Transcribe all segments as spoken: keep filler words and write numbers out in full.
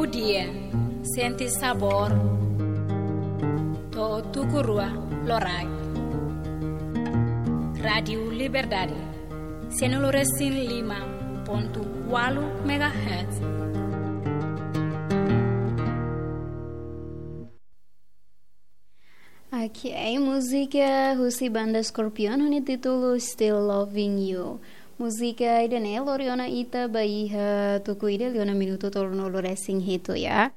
Dia, sente sabór. To'o tuku rua loraik. Rádiu Liberdade, sianulu resin lima pontu ualu megahertz. Oke, múzika husi banda Scorpion ho nia títulu Still Loving You. Múzika ida-ne'e lori ona ita ba iha tuku ida liu ona minutu tolunulu resin hitu ya.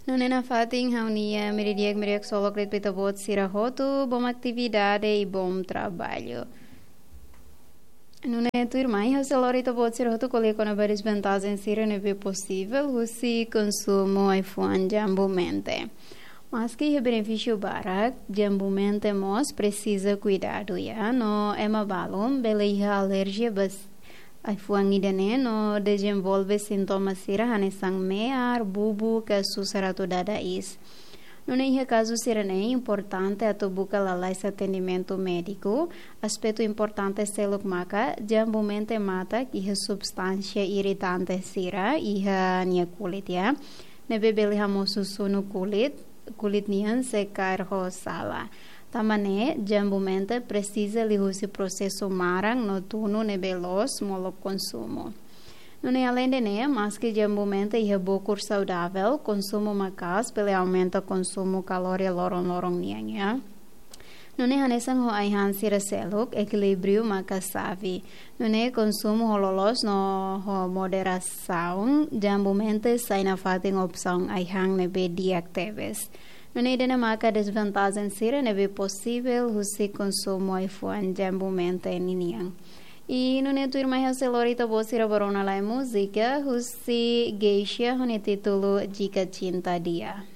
Nune'e nafatin ha'u-nia media, media solo kret pita bot sira hotu, bom atividade i bom trabalho. Nune'e tuirmai ha'u sei lori ita-boot sira hotu ko'alia kona-ba dezvantajen sira ne'ebé posivel husi konsumu ai-fuan jambu-mente. Maski iha benefísiu barak, jambu-mente mós presiza kuidadu ya, no ema balun bele iha alerjia ba ai-fuan ida-ne'e no dezenvolve sintoma sira hanesan me'ar, bubu, ka susar atu dada iis. Nune'e iha kazu sira-ne'e importante atu buka lalais atendimentu médiku. Aspetu importante seluk maka jambu-mente matak iha substánsia iritante sira iha nia kulit ya, ne'ebé bele hamosu sunu kulit, kulit nian sei kaer ho sala. Tanba ne'e jambu-mente presiza liuhusi prosesu maran no tunu ne'ebé loos molok konsumu. Nune'e aleinde ne'e, maski jambu-mente iha bokur saudavel, konsumu maka'as bele aumenta konsumu kalória loron-loron nian ya. Nune'e hanesan ho ai-han sira seluk, ekilíbriu maka xave. Nune'e konsumu ho loloos no ho moderasaun, jambu-mente sai nafatin opsaun ai-han ne'ebé di'ak tebes. Nune'e ida-ne'e maka dezvantajen sira ne'ebé posivel husi konsumu ai-fuan jambu-mente ninian. I nune'e tuirmai ha'u sei lori ita-boot sira ba rona lai múzika husi Geisha ho nia títulu Jika Cinta Dia.